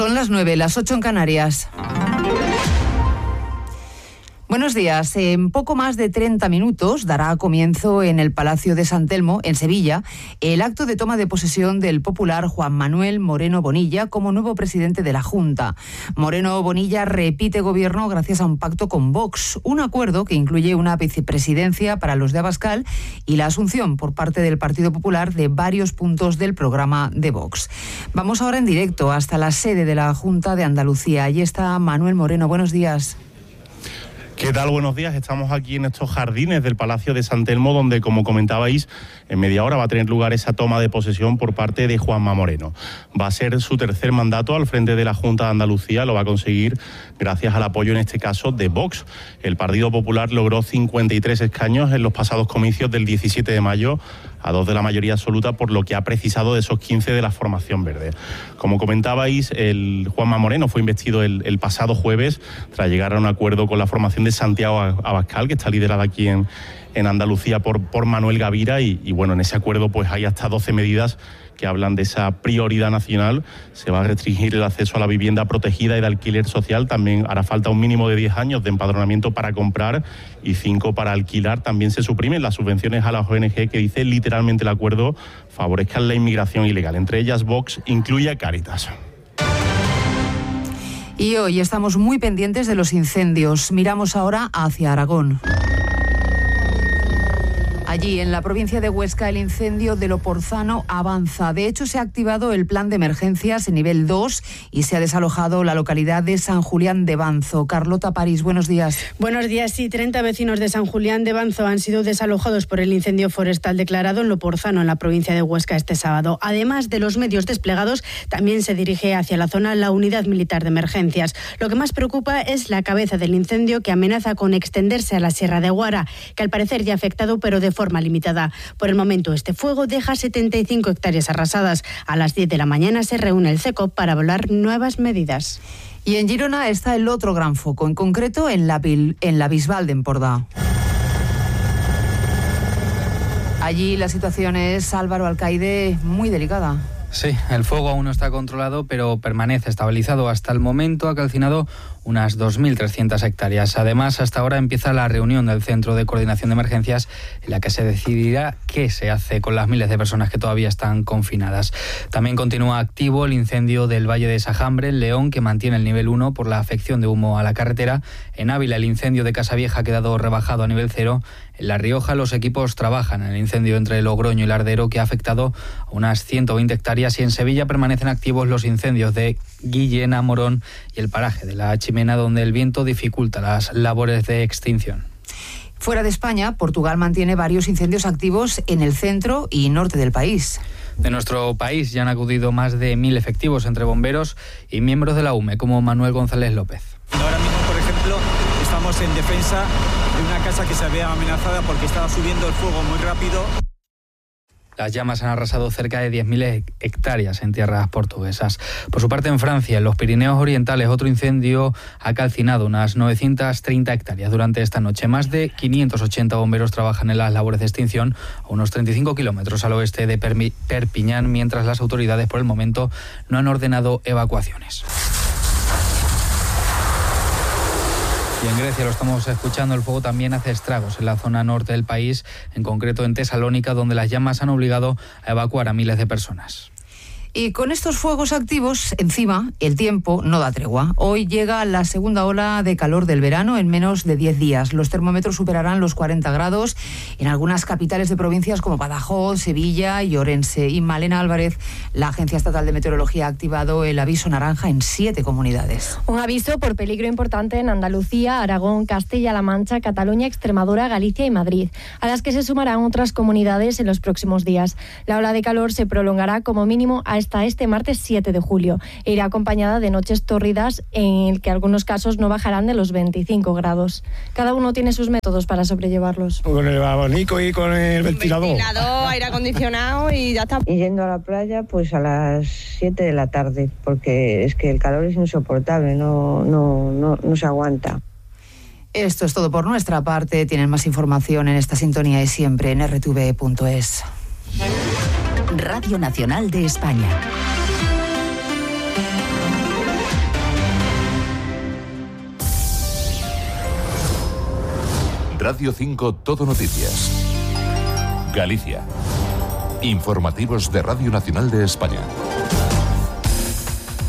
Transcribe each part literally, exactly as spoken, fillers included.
Son las nueve, las ocho en Canarias. Buenos días. En poco más de treinta minutos dará comienzo en el Palacio de San Telmo, en Sevilla, el acto de toma de posesión del popular Juan Manuel Moreno Bonilla como nuevo presidente de la Junta. Moreno Bonilla repite gobierno gracias a un pacto con Vox, un acuerdo que incluye una vicepresidencia para los de Abascal y la asunción por parte del Partido Popular de varios puntos del programa de Vox. Vamos ahora en directo hasta la sede de la Junta de Andalucía. Allí está Manuel Moreno. Buenos días. ¿Qué tal? Buenos días. Estamos aquí en estos jardines del Palacio de San Telmo, donde, como comentabais, en media hora va a tener lugar esa toma de posesión por parte de Juanma Moreno. Va a ser su tercer mandato al frente de la Junta de Andalucía. Lo va a conseguir gracias al apoyo, en este caso, de Vox. El Partido Popular logró cincuenta y tres escaños en los pasados comicios del diecisiete de mayo, a dos de la mayoría absoluta, por lo que ha precisado de esos quince de la formación verde. Como comentabais, el Juanma Moreno fue investido el, el pasado jueves tras llegar a un acuerdo con la formación de Santiago Abascal, que está liderada aquí en, en Andalucía por, por Manuel Gavira, y, y bueno, en ese acuerdo pues hay hasta doce medidas que hablan de esa prioridad nacional. Se va a restringir el acceso a la vivienda protegida y de alquiler social. También hará falta un mínimo de diez años de empadronamiento para comprar y cinco para alquilar. También se suprimen las subvenciones a las O N G, que dice literalmente el acuerdo favorezcan la inmigración ilegal. Entre ellas, Vox incluye a Cáritas. Y hoy estamos muy pendientes de los incendios. Miramos ahora hacia Aragón. Allí, en la provincia de Huesca, el incendio de Loporzano avanza. De hecho, se ha activado el plan de emergencias en nivel dos y se ha desalojado la localidad de San Julián de Banzo. Carlota París, buenos días. Buenos días. Sí, treinta vecinos de San Julián de Banzo han sido desalojados por el incendio forestal declarado en Loporzano, en la provincia de Huesca, este sábado. Además de los medios desplegados, también se dirige hacia la zona la unidad militar de emergencias. Lo que más preocupa es la cabeza del incendio, que amenaza con extenderse a la Sierra de Guara, que al parecer ya ha afectado, pero de forma limitada. Por el momento, este fuego deja setenta y cinco hectáreas arrasadas. A las diez de la mañana se reúne el CECOP para evaluar nuevas medidas. Y en Girona está el otro gran foco, en concreto en la, en la Bisbal de Empordà. Allí la situación es, Álvaro Alcaide, muy delicada. Sí, el fuego aún no está controlado, pero permanece estabilizado. Hasta el momento ha calcinado unas dos mil trescientas hectáreas. Además, hasta ahora empieza la reunión del Centro de Coordinación de Emergencias, en la que se decidirá qué se hace con las miles de personas que todavía están confinadas. También continúa activo el incendio del Valle de Sajambre, en León, que mantiene el nivel uno por la afección de humo a la carretera. En Ávila, el incendio de Casavieja ha quedado rebajado a nivel cero. En La Rioja, los equipos trabajan en el incendio entre Logroño y Lardero, que ha afectado a unas ciento veinte hectáreas, y en Sevilla permanecen activos los incendios de Guillena, Morón y el paraje de la Chimena, donde el viento dificulta las labores de extinción. Fuera de España, Portugal mantiene varios incendios activos en el centro y norte del país. De nuestro país ya han acudido más de mil efectivos entre bomberos y miembros de la U M E, como Manuel González López. Ahora mismo, por ejemplo, estamos en defensa de una casa que se había amenazada porque estaba subiendo el fuego muy rápido. Las llamas han arrasado cerca de diez mil hectáreas en tierras portuguesas. Por su parte, en Francia, en los Pirineos Orientales, otro incendio ha calcinado unas novecientas treinta hectáreas durante esta noche. Más de quinientos ochenta bomberos trabajan en las labores de extinción a unos treinta y cinco kilómetros al oeste de Perpiñán, mientras las autoridades, por el momento, no han ordenado evacuaciones. Y en Grecia, lo estamos escuchando, el fuego también hace estragos en la zona norte del país, en concreto en Tesalónica, donde las llamas han obligado a evacuar a miles de personas. Y con estos fuegos activos encima, el tiempo no da tregua. Hoy llega la segunda ola de calor del verano en menos de diez días. Los termómetros superarán los cuarenta grados en algunas capitales de provincias como Badajoz, Sevilla y Orense. Y Malena Álvarez, la Agencia Estatal de Meteorología, ha activado el aviso naranja en siete comunidades. Un aviso por peligro importante en Andalucía, Aragón, Castilla-La Mancha, Cataluña, Extremadura, Galicia y Madrid, a las que se sumarán otras comunidades en los próximos días. La ola de calor se prolongará como mínimo a hasta este martes siete de julio e irá acompañada de noches tórridas en el que algunos casos no bajarán de los veinticinco grados. Cada uno tiene sus métodos para sobrellevarlos. Con el abanico y con el ventilador. Ventilador, aire acondicionado y ya está. Y yendo a la playa pues a las siete de la tarde, porque es que el calor es insoportable, no, no, no, no se aguanta. Esto es todo por nuestra parte. Tienen más información en esta sintonía y siempre en erre te ve punto es. Radio Nacional de España. Radio cinco Todo Noticias. Galicia. Informativos de Radio Nacional de España.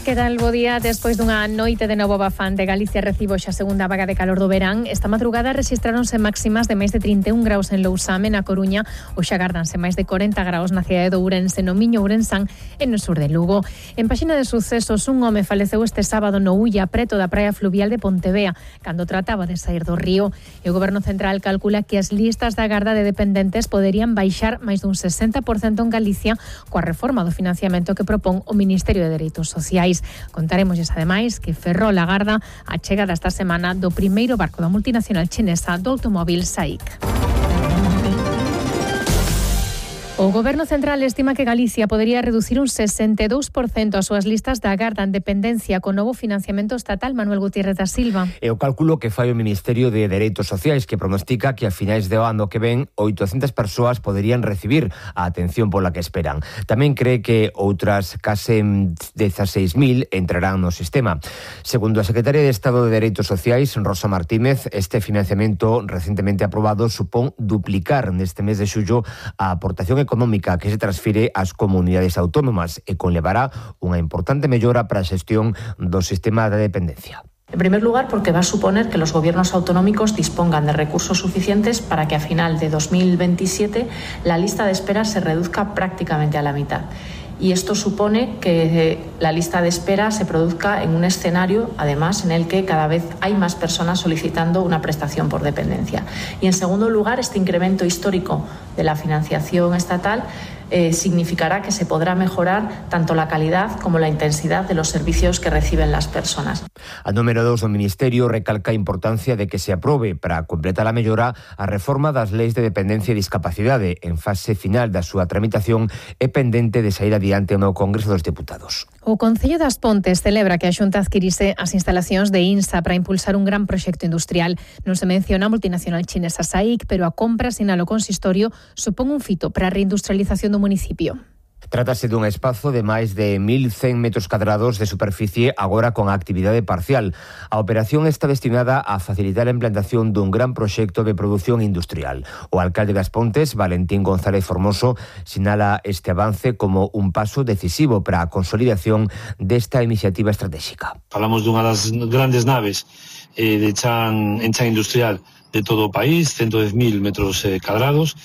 Que tal, bo día? Despois dunha noite de novo bafante, Galicia recibo xa a segunda vaga de calor do verán. Esta madrugada rexistráronse máximas de máis de trinta e un graus en Lousame, na Coruña, ou xa gardanse máis de corenta graus na cidade de Ourense, no Miño, Ourensán e no sur de Lugo. En páxina de sucesos, un home faleceu este sábado no Ulla, preto da praia fluvial de Pontevea, cando trataba de sair do río. E o Goberno Central calcula que as listas da garda de dependentes poderían baixar máis dun sesenta por cento en Galicia coa reforma do financiamento que propón o Ministerio de Dereitos Sociais. Contaremosles ademais que Ferrol agarda a chegada esta semana do primeiro barco da multinacional chinesa do automóvil S A I C. O Goberno Central estima que Galicia podería reducir un sesenta e dous por cento as súas listas da garda en dependencia con novo financiamento estatal. Manuel Gutiérrez da Silva. É o cálculo que fai o Ministerio de Dereitos Sociais, que pronostica que a finais de ano que ven oitocentas persoas poderían recibir a atención pola que esperan. Tamén cree que outras case dieciséis mil entrarán no sistema. Segundo a Secretaria de Estado de Dereitos Sociais, Rosa Martínez, este financiamento recentemente aprobado supón duplicar neste mes de xullo a aportación económica económica que se transfire ás comunidades autónomas e conlevará unha importante mellora para a xestión do sistema de dependencia. En primer lugar, porque va a suponer que los gobiernos autonómicos dispongan de recursos suficientes para que a final de dos mil veintisiete la lista de espera se reduzca prácticamente a la mitad. Y esto supone que la lista de espera se produzca en un escenario, además, en el que cada vez hay más personas solicitando una prestación por dependencia. Y, en segundo lugar, este incremento histórico de la financiación estatal eh, significará que se podrá mejorar tanto la calidad como la intensidad de los servicios que reciben las personas. A número dos do Ministerio recalca a importancia de que se aprobe para completar a mellora a reforma das leis de dependencia e discapacidade en fase final da súa tramitación e pendente de sair adiante no Congreso dos Deputados. O Concello das Pontes celebra que a Xunta adquirise as instalacións de INSA para impulsar un gran proxecto industrial. Non se menciona a multinacional chinesa S A I C, pero a compra, sinala o consistorio, supón un fito para a reindustrialización do municipio. Trátase dun espazo de máis de mil cen metros cadrados de superficie agora con a actividade parcial. A operación está destinada a facilitar a implantación dun gran proxecto de produción industrial. O alcalde das Pontes, Valentín González Formoso, sinala este avance como un paso decisivo para a consolidación desta iniciativa estratégica. Falamos dunha das grandes naves eh, de chan, en chan industrial de todo o país, ciento dez mil metros eh, cadrados,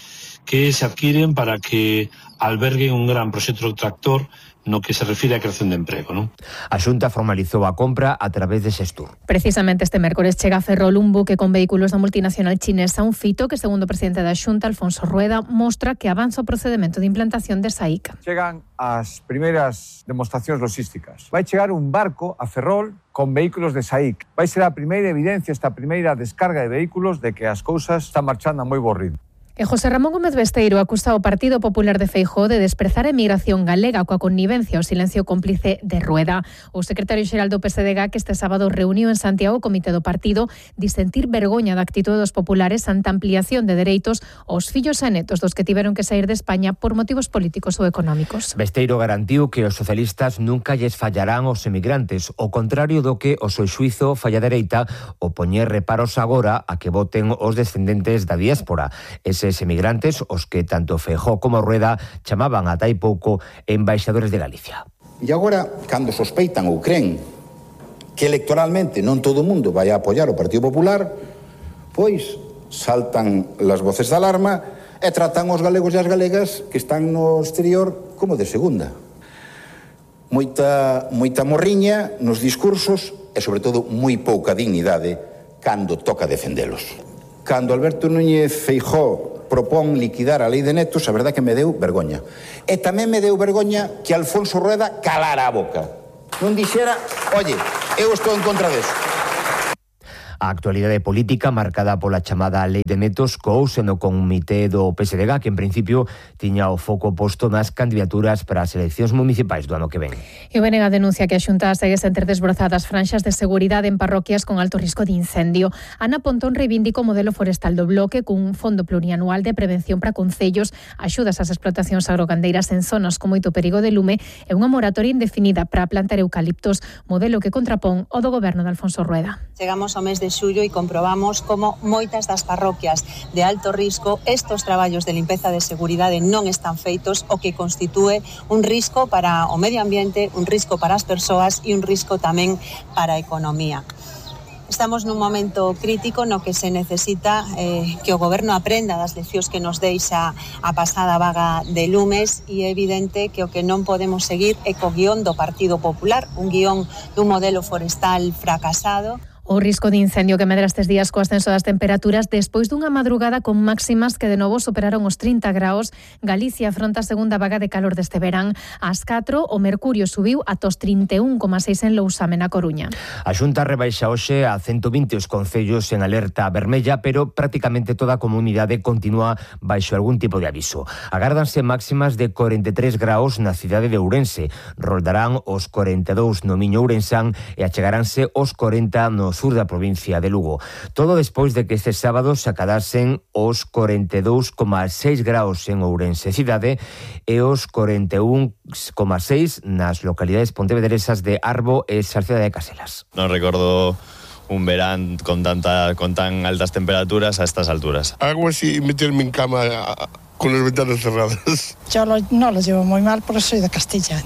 que se adquiren para que alberguen un gran proxecto tractor no que se refire á creación de emprego, non? A Xunta formalizou a compra a través de Xestur. Precisamente este mércores chega a Ferrol un buque con vehículos da multinacional chinesa, un fito que, segundo o presidente da Xunta, Alfonso Rueda, mostra que avanza o procedemento de implantación de S A I C. Chegan as primeiras demostracións logísticas. Vai chegar un barco a Ferrol con vehículos de S A I C. Vai ser a primeira evidencia, esta primeira descarga de vehículos de que as cousas están marchando a moi bo ritmo. E José Ramón Gómez Besteiro acusa o Partido Popular de Feijóo de desprezar a emigración galega coa connivencia o silencio cómplice de Rueda. O secretario xeral do P S D G que este sábado reuniu en Santiago o comité do partido di sentir vergoña da actitude dos populares ante a ampliación de dereitos aos fillos e netos dos que tiveron que sair de España por motivos políticos ou económicos. Besteiro garantiu que os socialistas nunca lles fallarán aos emigrantes, o contrario do que o seu xuizo falla dereita o poñer reparos agora a que voten os descendentes da diáspora. Ese Eses emigrantes, os que tanto Feijóo como Rueda chamaban ata hai pouco embaixadores de Galicia. E agora, cando sospeitan ou creen que electoralmente non todo o mundo vai a apoiar o Partido Popular, pois saltan las voces de alarma e tratan os galegos e as galegas que están no exterior como de segunda. Moita, moita morriña nos discursos e, sobre todo, moi pouca dignidade cando toca defendelos. Cando Alberto Núñez Feijóo propón liquidar a lei de netos, a verdade que me deu vergoña. E tamén me deu vergoña que Alfonso Rueda calara a boca. Non dixera, oye, eu estou en contra deso. A actualidade política marcada pola chamada Lei de Netos couse no comité do P S D G, que en principio tiña o foco posto nas candidaturas para as eleccións municipais do ano que ven. E o B N G denuncia que a Xunta segue sen ter desbrozadas franxas de seguridade en parroquias con alto risco de incendio. Ana Pontón reivindica o modelo forestal do bloque cun fondo plurianual de prevención para concellos, axudas ás explotacións agrogandeiras en zonas con moito perigo de lume e unha moratoria indefinida para plantar eucaliptos, modelo que contrapón o do goberno de Alfonso Rueda. Chegamos ao mes de xullo e comprobamos como moitas das parroquias de alto risco estos traballos de limpeza de seguridade non están feitos, o que constitúe un risco para o medio ambiente, un risco para as persoas e un risco tamén para a economía. Estamos nun momento crítico no que se necesita eh, que o Goberno aprenda das leccións que nos deixa a pasada vaga de lumes, e é evidente que o que non podemos seguir é co guión do Partido Popular, un guión dun modelo forestal fracasado. O risco de incendio que medra estes días co ascenso das temperaturas despois dunha madrugada con máximas que de novo superaron os trinta graus. Galicia afronta a segunda vaga de calor deste verán. Ás catro o mercurio subiu ata os trinta e un coma seis en Lousame, na Coruña. A Xunta rebaixa hoxe a ciento vinte os concellos en alerta vermella, pero prácticamente toda a comunidade continúa baixo algún tipo de aviso. Agárdanse máximas de corenta e tres graus na cidade de Ourense, roldarán os corenta e dous no Miño Ourensán e achegaránse os corenta no sur da provincia de Lugo. Todo despois de que este sábado se acadasen os corenta e dous coma seis graus en Ourense cidade e os corenta e un coma seis nas localidades pontevedresas de Arbo e Salceda de Caselas. Non recordo un verán con tanta con tan altas temperaturas a estas alturas. Algo así, meterme en cama con las ventanas cerradas. Yo lo, no lo llevo muy mal porque soy de Castilla.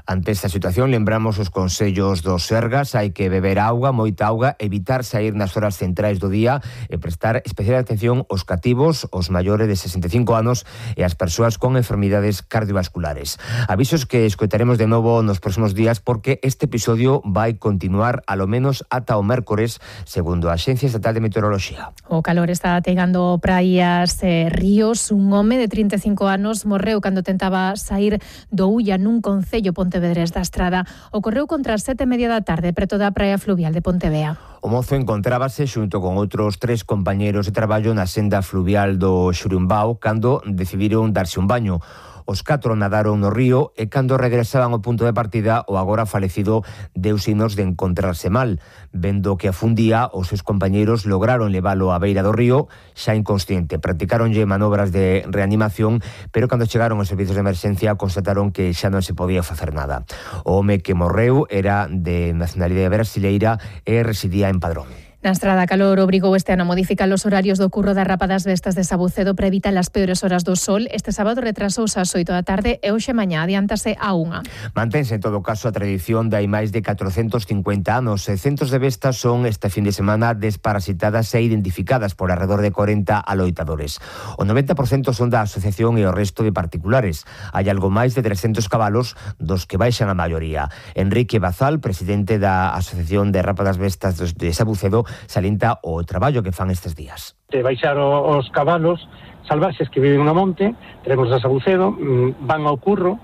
Ante esta situación, lembramos os consellos dos Sergas. Hai que beber auga, moita auga, evitar sair nas horas centrais do día e prestar especial atención aos cativos, os maiores de sesenta e cinco anos e as persoas con enfermidades cardiovasculares. Avisos que escoitaremos de novo nos próximos días porque este episodio vai continuar alo menos ata o mércores, segundo a Axencia Estatal de Meteoroloxía. O calor está ateigando praias e ríos. Un home de trinta e cinco anos morreu cando tentaba sair do Ulla nun concello Pontevedrés da Estrada. Ocorreu contra as sete e media da tarde preto da praia fluvial de Pontevea. O mozo encontrábase xunto con outros tres compañeros de traballo na senda fluvial do Xurumbao cando decidiron darse un baño. Os catro nadaron no río e cando regresaban ao punto de partida o agora falecido deu signos de encontrarse mal. Vendo que afundía, os seus compañeiros lograron leválo á beira do río, xa inconsciente. Practicaronlle manobras de reanimación, pero cando chegaron os servizos de emerxencia constataron que xa non se podía facer nada. O home que morreu era de nacionalidade brasileira e residía en Padrón. Na Estrada, calor obrigou este ano a modificar os horarios do curro da Rapa das Vestas de Sabucedo para evitar as peores horas do sol. Este sábado retrasouse ás oito da tarde e hoxe mañá adiántase a unha. Mantense en todo caso a tradición de hai máis de catrocentos cincuenta anos. E centos de vestas son este fin de semana desparasitadas e identificadas por alrededor de corenta aloitadores. O noventa por cento son da asociación e o resto de particulares. Hai algo máis de trescentos cabalos, dos que baixan a maioría. Enrique Bazal, presidente da Asociación de Rapa das Vestas de Sabucedo, salienta o traballo que fan estes días. De baixar os cabalos salvaxes que viven no monte, tenemos a Sabucedo, van ao curro,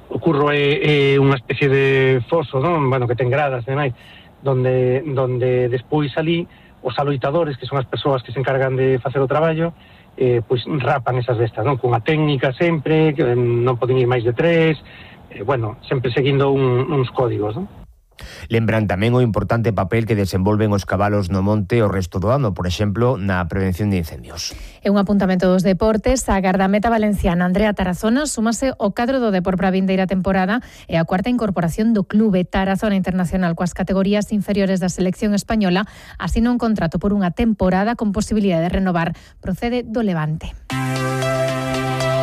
o curro é, é unha especie de foso, non? Bueno, que ten gradas e demais, donde, donde despois ali os aloitadores, que son as persoas que se encargan de facer o traballo, eh, pois rapan esas vestas, non? Cunha técnica sempre, que non poden ir máis de tres, eh, bueno, sempre seguindo un, uns códigos, non? Lembran tamén o importante papel que desenvolven os cabalos no monte o resto do ano, por exemplo, na prevención de incendios. E un apuntamento dos deportes, a gardameta valenciana Andrea Tarazona súmase ao cadro do Depor para a vindeira temporada e a cuarta incorporación do clube. Tarazona Internacional coas categorías inferiores da selección española asina un contrato por unha temporada con posibilidade de renovar. Procede do Levante.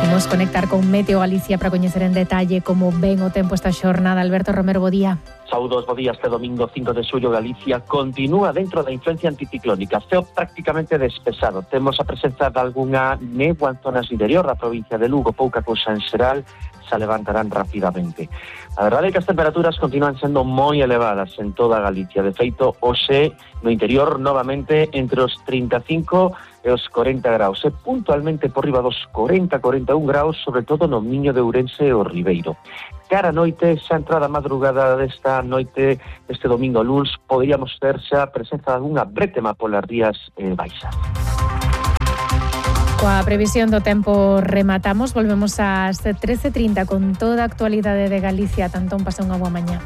Vamos conectar con Meteo Galicia para coñecer en detalle como ven o tempo esta xornada. Alberto Romero, bo día. Saúdos, bo día. Este domingo cinco de xullo Galicia continúa dentro da influencia anticiclónica. Ceo prácticamente despexado. Temos a presenza de algunha néboa en zonas interior da provincia de Lugo, pouca cousa en xeral, se levantarán rapidamente. A verdade é que as temperaturas continúan sendo moi elevadas en toda Galicia. De feito, hoxe no interior novamente entre os trinta e cinco e os corenta graus. E puntualmente por riba dos corenta a corenta e un graus, sobre todo no Miño de Ourense e o Ribeiro. Cara a noite, xa entrada a madrugada desta noite, este domingo luns, poderíamos ter xa a presenza de algunha brétema polas rías eh, baixas. Coa previsión do tempo rematamos, volvemos ás trece e trinta con toda a actualidade de Galicia. Tantón, pasa unha boa mañá.